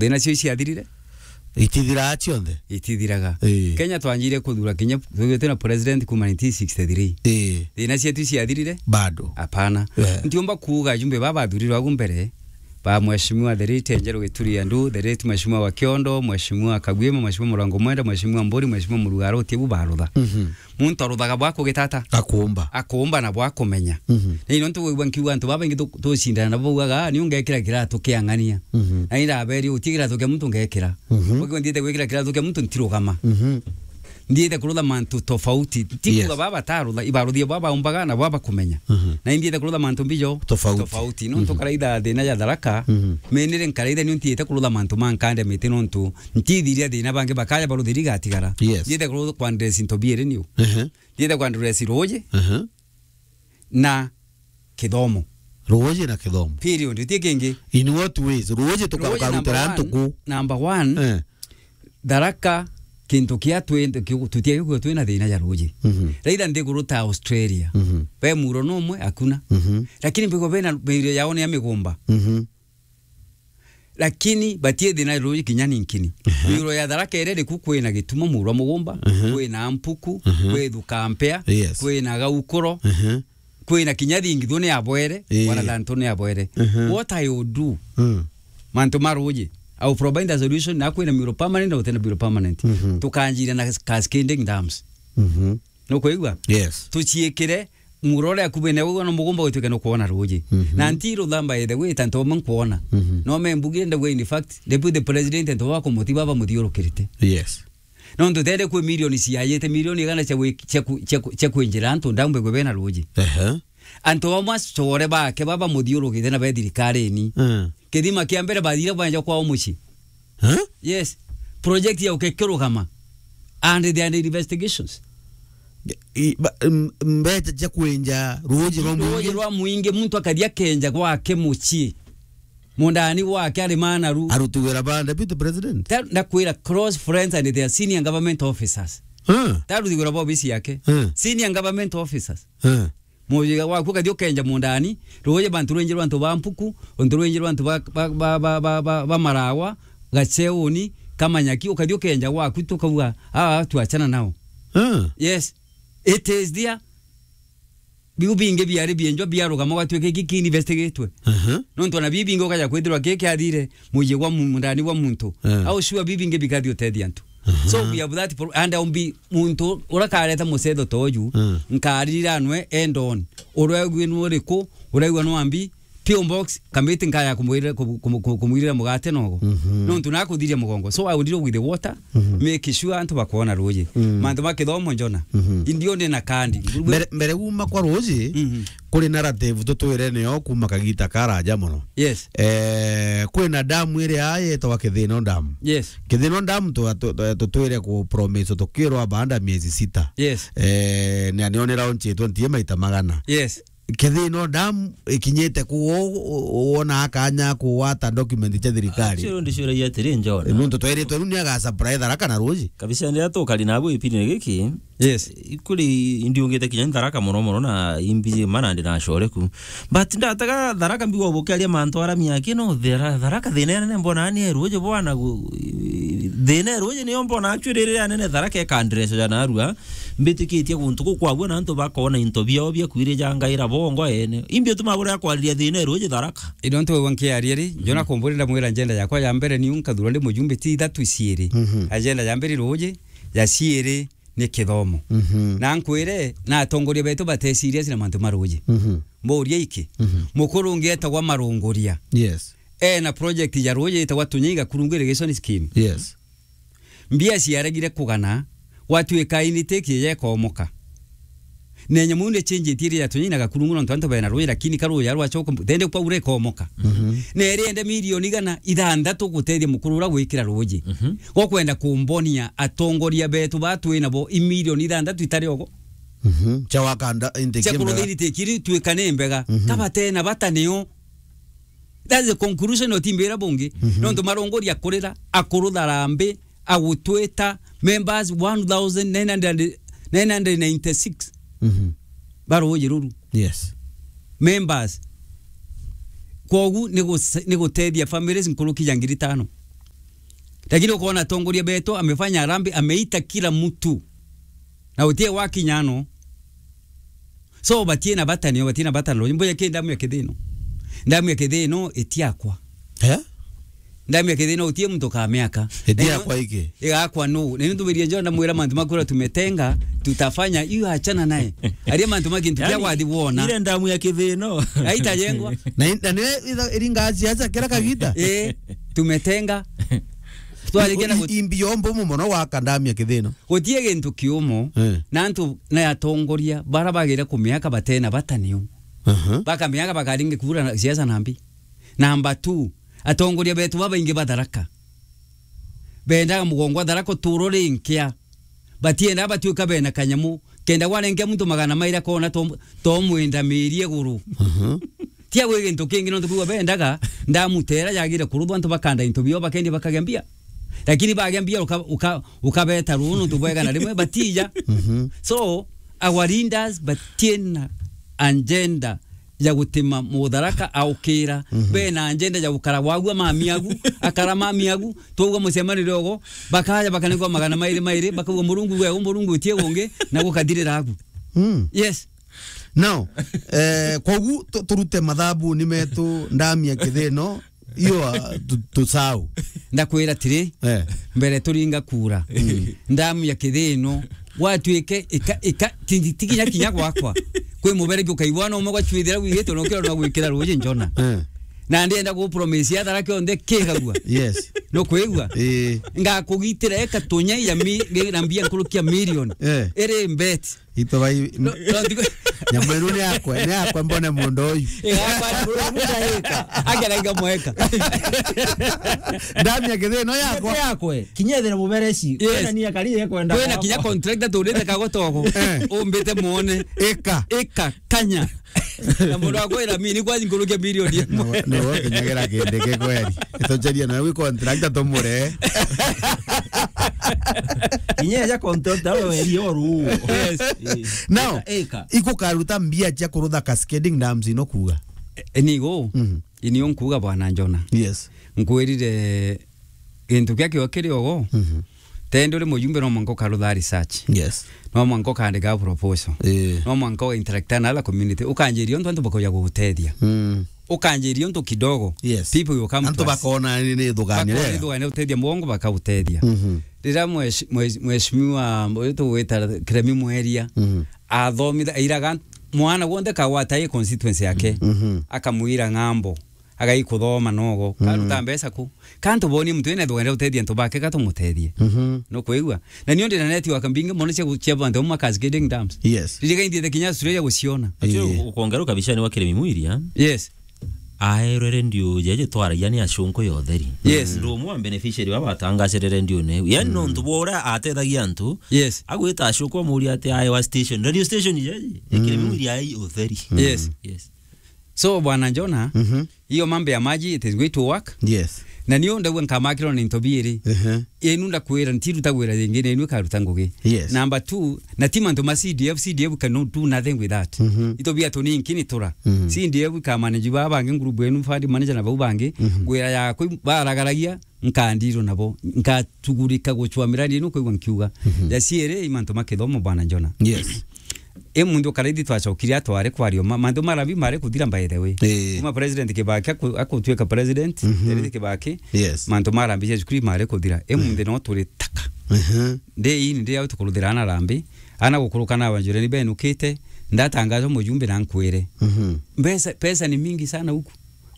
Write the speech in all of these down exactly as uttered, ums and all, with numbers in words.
Thina cio ciathirire? Itithiraa cionthe? Itithiraga. Ii. Kenya twanjire kuthura kinya, twithirwe twina president kuma nineteen sixty-three. Ii. Thina cietu ciathirire? Bado. Apana. Eh. Ntiumba kuuga ajumbe baba bathurirwe agu mbere, ba Mheshimiwa the late Njeru Gituri Andu, the late Mheshimiwa wa Kiondo, Mheshimiwa Kagwima, Mheshimiwa Murango Mwenda, Mheshimiwa Mburi, Mheshimiwa Murugaro, ti bu barutha. Mhm. Muntu aruthaga bwa kugitata. Akuumba. Akuumba na bwa kumenya. Mhm. Na ino ntu wigua nkiuga antu babaingi tu-, tucindana nabo baugaga, "Ah, ni ungekira kiratu kia ng'ania." Mhm. Na iraberi, uti kiratu kia muntu ngekira. Mhm. Ukiuga nthiite gwikira kiratu kia muntu ntirugama. Mhm. Nthiite kurutha mantu tofauti. Ti kuuga Yes. baba batarutha, ibaruthia bwa baumbaga na bwa bakumenya. Mhm. Na inthiite kurutha mantu mbijo Tofauti. tofauti. Nontu Mhm. karaitha thina ya Tharaka, Mhm. menire nkaraitha ni nthiite kurutha mantu ma nkande miti nontu ntithiria thina bangi bakaya baruthiri gatigara. Yes. Nthiite kurutha kwa ndresi ntobiere niu. Ehe. Nthiite kwa ndresi ruuji Ehe. na kithomo. Ruuji na kithomo. Period. Ti kingi. In what ways? Ruuji tuka-, Ruuji tukarutira number one, ntuku. Number one, Eh. Tharaka, kintu kia twi-, ki-, tutiagi kwithirwa twina thina ja ruuji. Mhm. Raitha nthiguru ta Australia. Mhm. Ve muro numwe, hakuna. Mhm. Lakini mbigwa bena miro yao ni ya migumba. Mhm. Lakini batie thina ruuji kinya ninkini. Ehe. Miro ya Tharaka iria iriku kwina Gituma muro wa mugumba, Ehe. kwina Mpuku, Ehe. kwi Thukampea, Yes. kwina Gaukuro. Ehe. Kwina kinya thingithu ni abwere, Ii. wana thantu ni abwere. Mhm. What I will do, Mm. mantu ma ruuji, I will provide a solution, na kwina miro permanent na gutena miro permanent. Mhm. Tukanjira na cascading dams. Mhm. Nukwigua? Yes. Tuciikire muro uria kubene ugwa no mugumba gwituike no kuona ruuji. Mhm. Na nti ruthamba ethe gwita ntu bamwe nkuona. Mhm. No me mbugire ndauga, in fact, Deputy President ntu baba kumuti baba muthiurukirite. Yes. Nontu tende kwi milioni ciayite, milioni igana cia gwi-, cia ku-, cia ku-, cia kwinjira antu ndambe gwe bena ruuji. Ehe. Antu bamwe acore bake baba muthiurukite na be thirikarini. Mm. Kithima kia mbere bathire banja kwao mucii. Huh? Yes. Project ya ukekirugama. And they are investigations. I-, ba-, m-, mbeca cia kwenja ruuji rwa Ruuji mwingi. Rwa mwingi, muntu akathia kenja gwake mucii. Mundani gwake ari manaru. Aruti wira ba deputy president. Ta-, ndakwira close friends and their senior government officers. Huh? Taruti wira ba ofisi yake. Huh? Senior government officers. Huh? Mujiga waku kathi ukenja mundani, ruuji bantu rwinji rwa antu ba Mpuku, untu rwinji rwa antu ba, ba, ba Marawa, Gacheuni, Kamanyaki, ukathi ukenja gwaku tukauga, "Ah, tuachana nao." Huh? Yes. It is there. Biu bingi biari bienjwa biarugama gwatuika iki kiinvestigatwe. Aha. Nontu ona biu bingi ukaja kwithirwa ki kiathire muji gwa mu-, mundani gwa muntu. Eh. Au sure biu bingi bikathi utethia antu. Aha. So we have that pro-, and I'll be muntu urakareta mucetho toju, eh, nkaririranwe endon. Uraigua ni uriku, uraigua ni wambi, P O box, kamiti nkaya kumwirira, kumu-, kumu-, kumu-, kumwirira mugate nogo. Mhm. Nontu nakuthiria mugongo. So I will deal with the water, mhm, make sure antu bakwona ruuji. Mm. Mantu ma kithomo njona. Mhm. Indio ndi na kandi. Mbere, mbere uma kwa ruuji, mhm, kuri narrative tutwire niyo kuma kagita karaja muno. Yes. Eh, kwina damu iria yetagwa Kithino Dam. Yes. Kithino Dam tu-, tu-, tu-, tutwire ku promise tukirwa baada miezi sita. Yes. Eh, na niyo ni launch twenty maita magana. Yes. Kithino Dam ikinyite ku wo-, wo-, wona akanya kuwata document cia thirikari? Actually, ndicuragia atiri, John. Nontu tweritwe riu ni aga supply Tharaka na ruuji. Kabisa, ndia tukari nabu ipindi giki. Yes. Ikuri ndiungite kinya Tharaka muno muno na imbi mana ndi na core ku. But ndataga Tharaka mbigwa bukiaria mantu ara miaki no thira Tharaka thina nene mbona ni ruuji bwana gu-, thina ruuji niyo mbona actually riri anene Tharaka e kandreso ja narua. Mbitikitie guntu gukwagua na antu bakona into biao bia kwirijangaira bongo ene. Imbi utuma bura kwariria thina ruuji Tharaka. Indo ntu wigwa nkiaria ri, njona kumburi ndamwira njenda yakwa ya mbere niu nkathurwa ndi mujumbe ti ithatu ciiri. Mhm. Agenda ya mbere ruuji, ya ciiri ni kithomo. Mhm. Na nkwire, na atongoria betu bate serious na mantu ma ruuji. Mhm. Mburia iki, mhm, mukuru ungi etagwa Marunguria. Yes. Ena project ya ruuji itagwa Tunyaiga Kurungu Irrigation Scheme. Yes. Mbia ciaregire kugana, gwatuika intake yekomoka. Na nyamu ni change iri ya Tunyaiga Kurungu nontu antu bena ruuji, lakini ka ruuji rwacoka, tende kwa ure komoka. Mhm. Na iri ende milioni igana ithanthatu gutethia mukuru ura gwikira ruuji. Mhm. Gokwenda kumbonia atongoria betu ba twi nabo i milioni ithanthatu itari ogo. Mhm. Cia wakanda intake cia mbega. Kuruthiri tikiri tuikane mbega. Mhm. Kabatena bata nio. That's the conclusion otimbira bungi. Mhm. Nontu Marunguria akurira, akurutha rambi, agutwita members one thousand nine hundred, nine hundred ninety-six. Mhm. Ba ruuji ruru. Yes. Members. Kwogu ni guse-, ni gutethia families nkuruki ya ngiri tano. Lakini ukoona atongoria betu amefanya harambee, ameita kila mtu. Na utie wakinya no. So, batie na bata nio, batie na bata nio. Mbuya ki ndamu ya kithino. Ndamu ya kithino itiakwa. Eh? Ndamu ya kithino utie muntu ka miaka. Itiakwa iki. Igakwa no. Na nitubirie John ndamwira mantu makura tumetenga, tutafanya hiyo, achana naye. Aria mantu ma kintu kia wathi wona. Ile ndamu ya kithino. Aitajengwa. Na in-, na nire itha-, iringa siasa kira kagita. Eh, tumetenga. Twarikia na gut- imbi yombo mu mono wa kandamia kithino. Gutie gintu kiumo, eh, na antu na atongoria bara bagire kumiaka batena bata niu. Aha. Bakamiaka bakaringi kura na siasa nambi. Number two, atongoria betu babaingi ba Tharaka. Bendaga mugongo wa Tharaka uturo rinkia. Batienda batuika bena kanyamu. Kenda gwarenkia muntu magana mairi akona to, to mwenda miri iguru. Mhm. Tia gwi gintu kingi, nontu kwigua bendaga, ndamutera yagire kuruthwa, antu bakanda into bio, bakendia bakagia mbia. Lakini bagia mbia, uka-, uka-, ukabeta ruu nontu bwega na rimwe, batija. Mhm. So, our leaders, batiena agenda ya gutima Mutharaka aukira. Mhm. Bena agenda ya gukara wagua mami agu, akara mami agu, twauga mucemanio riogo, bakaja bakanigwa magana mairi mairi, bakauga, "Murungu gwe, Murungu utie gungi," na gukathirira agu. Mm. Yes. Now, eh, kogu tu-, turute mathabu ni metu ndamia kithino, iyo, ah, tu-, tusau. Ndakwira tiri, eh, mbere turinga kura. Mm. Ndamia kithino, gwatuike ika, ika, ti, ti kinya kinya gwakwa. Kwi mubere ki ukaigua no umwe gwachwithira gwigite, no kiro no gwikira ruji njona. Eh. Na ndienda ku promise ya Tharaka yonthe kigagua. Yes. No kwigua? Eh. Ngakugitira eka tunya ya mi-, na mbia nkurukia million. Eh. Iri bet. Ito bai, no, no, ndigo- nyamu ino ni yakwa, ni yakwa, mbone mundu uyu. Eh, yakwa, ni mundu uyu, eka. Agera iga mweka. Ndamia kithino yakwa. Yakwe, kinya ethira mubereci. Yes. Kwina ni akari ekwenda. Kwina kinya contractor turite kagotogo. Eh. Umbite muone. Eka. Eka, kanya. Na mundu akwira mini kwa nkurukia milioni imwe. No, no, kinyagera kindi ki kweri. Tucheria na wi contractor tumure. Kinya ya contractor we weri oru. Yes. Eh. Now, eka, eka, ikukaruta mbia cia kurutha cascading dams ino kuuga? E, nigo. Mhm. Inio nkuuga bwana Njona. Yes. Nkwirire gintu kia kio kiri ogo. Mhm. Tende uri mujumbe no mwanka ukarutha research. Yes. No mwanka ukandika proposal. Eh. No mwanka uga interact na other community. Ukanjiria untu antu bakuja gugutethia. Mm. Ukanjiria untu kidogo. Yes. People will come to us. Antu bakona ni, ni thugania. Bakona ni thugania, utethia mugongo bakagutethia. Mhm. Riria mwesh-, mwesh-, mheshimiwa uyu tugwita Kiremi Mweria, mhm, athomitha, airaga mwana wonthe kagwata i constituency yake, mhm, akamwira ng'ambo. Agai kuthoma nogo. Mm. Karuta mbeca ku? Kantu boni muntu ina thugania utethia antu bake, ka tumutethie. Mhm. No kwigua? Na nio ndina network mbingi mono cia gu-, cia bantu bamwe cascading dams. Yes. Ririga inthiete kinya Australia guciona. Actually, eh, u-, ukongeruka bicani wa Kiremi Mwiria. Yes. Aerwe redio jeje twaragia ni acunku ya utheri. Yes. Ndu umwe wa beneficiary wa batangacire redio ne. Yani, mm, nontu bora atethagia antu. Yes. Agwita acunku amuria ati aewa station. Radio station jeje. Mm. Kiremi Mwiria ai utheri. Yes. Yes. So, Bwana Njona, mhm, hiyo mambo ya maji, it is going to work. Yes. Na niyo ndagua nkamakirwa na into biiri. Ehe. Inu ndakwira, ntiruta gwira ringi, na inu ikaruta ngugi. Yes. Number two, na ti mantu ma C D F, C D F cannot do nothing with that. Mhm. Into bia tuninki ni tura. Mhm. C D F ikamanage ba bangi, group enu, fund manager na bau bangi, mhm, gwira yakwa baragaragia, nkandirwo nabo, nkatugurika gucwa miradi ino kwigua nkiuga. Mhm. Ya ciiri, i mantu ma kithomo, Bwana Njona. Yes. I muntu karaithi twacokire atware kwario ma-, mantu marabi mari kuthira, by the way. Eh. Kuma president Kibaki aku-, akutwika president, mhm, Kibaki, yes, mantu marabi cia cukuru mari kuthira. I, mm, muntu no turi taka. Mhm. Ndi ini ndi au tukuruthira ana rambi, ana gukuruka na banjure ni benukite, ndatangaza mujumbe na nkwire. Mhm. Pesa, pesa ni mingi sana huku.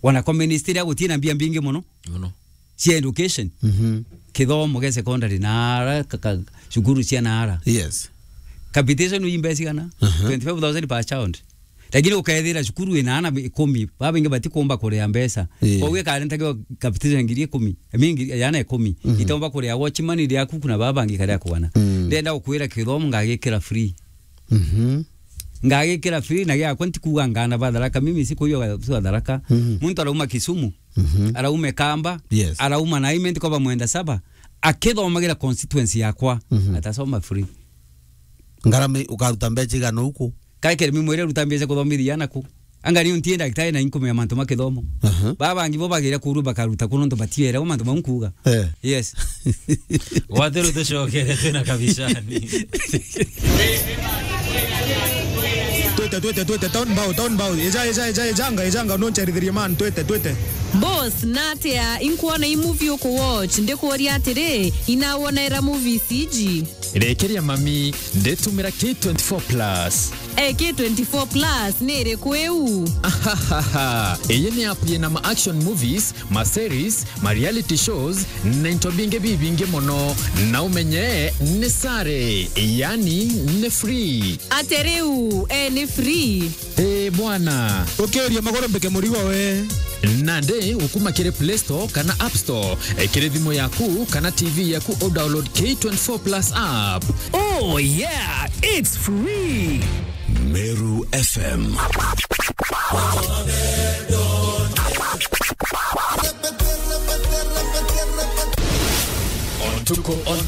Wana kwa ministry ya gutina mbia mbingi muno. Muno. Cia education. Mhm. Kithomo gia secondary na ara, ka-, ka-, cukuru cia na ara. Yes. Capitation uyu mbeca igana? Aha. Twenty-five thousand per child. Lakini ukethira cukuru ina ana ikumi, baba ingi batikumba kuria mbeca. Ii. Koguo ikari ntakio capitation ngiri ikumi, I mean, ngiri, yana ikumi. Mhm. Itomba kuria watchman iria kuku na baba bangi karia kugana. Mm. Ndenda gukwira kithomo ngagikira free. Mhm. Ngagikira free na giakwa, ntikuuga ngana ba Tharaka, mimi sikuiyo wa Tharaka. Mhm. Muntu arauma Kisumu, mhm, arauma Kamba, yes, arauma Naime, ntikoba mwenda saba, akithomagira constituency yakwa, mhm, atasoma free. Ngarama ukaruta mbeca igana uku? Kaikere mimi mwere ruta mbeca kuthomithia ana ku. Anga ni untie ndagitari na inkumenya mantu ma kithomo. Aha. Baba bangi bo bagira kuru bakaruta kuno ntu batiera mantu mau nkuga. Eh. Yes. Watheru tucokere twina kabicani. Twete, twete, twete, town bow, town bow. Eja, eja, eja, ejanga, ejanga, noncherithirie man, twete, twete. Boss, natia inkuona i movie uku watch, ndikuuria atiri, inawonera movies iji? Rekeria mami, nditumira K twenty-four plus. Eh, K twenty-four plus ni iriku iu? Ahahaha. Iyi ni app yina ma action movies, ma series, ma reality shows, na into bingi bibingi mono. Na umenye ni sare, yani ni free. Ate riu, eh, ni free? Eh, bwana. Ukiuria maguru mbike murigo we. Nandi ukuma kiri Play Store kana App Store, eh, kiri thimu yaku kana T V yaku, u download K twenty-four plus app. Oh yeah, it's free. Meru F M. Ontuko on